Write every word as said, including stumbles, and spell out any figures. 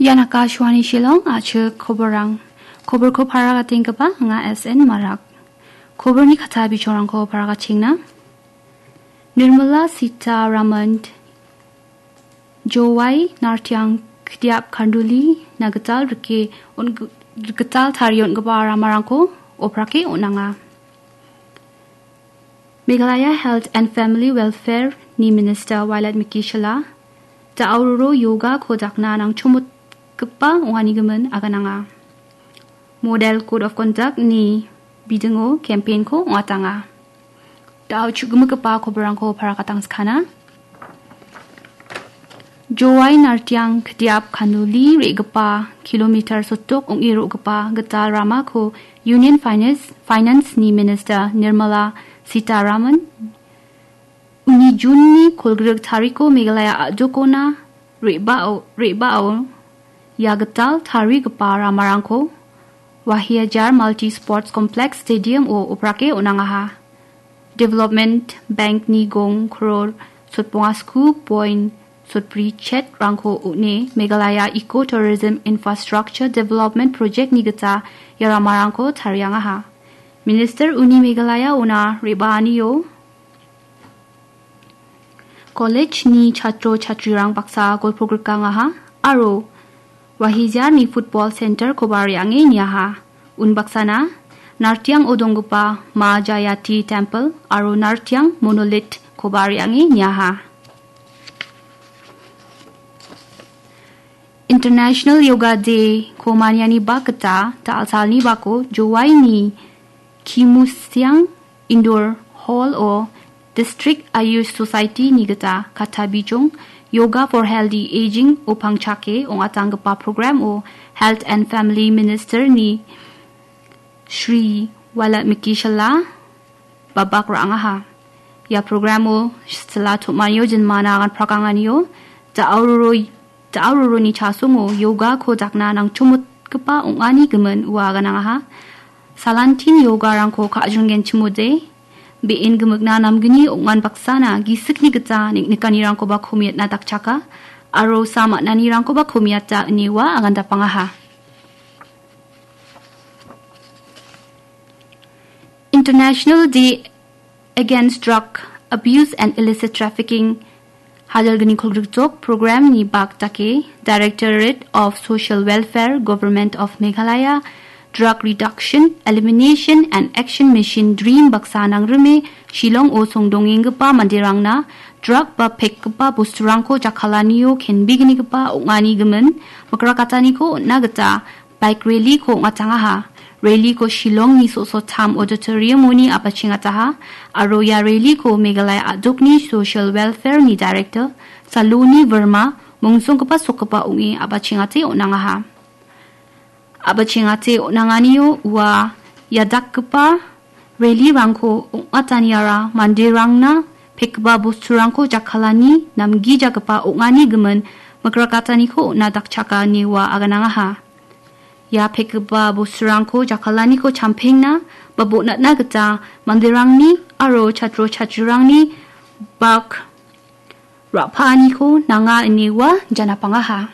Ian Akashvani Shillong, achik koborrang. Koborko paragatenggipa anga S N Marak. Koborni katta bichongrangko paragachengna. Nirmala Sitharaman, Jowai Nartiang Kdiap Khanduli na gital rike on-, gital tarie on·gipa ramarangko oprake on·anga. Meghalaya Health and Family Welfare ni Minister Wailadmiki Shylla, da·auroro yoga ko dakna nangchomotgipa ong·anigimin agananga. Model Code of Conduct ni bidingo campaign ko ong·atanga. Da·o chu·gimikgipa koborrangko paragatangskana. Jowai Nartiang Kdiap Khanduli re·gipa kilometer sotok ong·e ro·gipa gital ramako Union Finance, Finance ni Minister Nirmala Sitharaman uni June ni kolgrik tariko Meghalaya a·dokona re·bao, re·bao ia gital tarigipa ramarangko Wahiajar Multi Sports Complex Stadium o oprake on·angaha. Development Bank ni gong crore sotbonga sku point sotbri chet rangko on·e Meghalaya Eco Tourism Infrastructure Development Project ni gita ia ramarangko tariangaha. Minister uni Meghalaya ona re·baanio college ni chatro chatrirang baksa golpo grikangaha aro Wahiajar ni football center koba re·ange niaha. Unbaksana Nartiang o donggipa Ma Jayati Temple aro Nartiang Monolith koba re·ange niaha. International Yoga Day ko maniani bak gita da·alsalni bako Jowai ni Kimusiang Indoor Hall o District Ayush Society ni gita katta bijong Yoga for Healthy Aging o pangchake ong·atanggipa program o Health and Family Minister ni Shri Wailadmiki Shylla babak ra·angaha. Ia programo sila tom·anio jinmana aganprakanganio da·auroroi, da·auroroni chasongo yoga ko dakna nangchomotgipa ong·ani gimin ua aganangaha. Salantin yogarangko ka·jringgenchimode, be·en gimikna namgni ong·an baksana gisikni gita nik-, nikanirangkoba komiatna dakchaka, aro sam an·anirangkoba komiata ine ua agandapangaha. International Day Against Drug Abuse and Illicit Trafficking hajalgni kolgrikjok program ni bak dake Directorate of Social Welfare, Government of Meghalaya, Drug Reduction, Elimination and Action Mission, DREAM baksa nangrime Shillong o songdongenggipa manderangna drug ba pekgipa bosturangko jakkalanio kenbegnigipa ong·ani gimin mikrakataniko on·na gita bike rally-ko ong·atangaha. Rally-ko Shillongni Sosotam Auditorium-oni a·bachengataha, aro ia rally-ko Meghalaya a·dokni Social Welfare-ni Director Saloni Verma mongsonggipa sokgipa ong·e a·bachengate on·angaha. A·bachengate on·anganio ua ia dakgipa rally-rangko ong·ataniara manderangna pekgipa bosturangko jakkalani namgijagipa ong·ani gimin mikrakataniko on·na dakchaka ine ua aganangaha. Ia pekgipa bosturangko jakkalaniko champengna ba bonatna gita manderangni aro chatro chatrirangni bak ra·paaniko nanga ine ua janapangaha.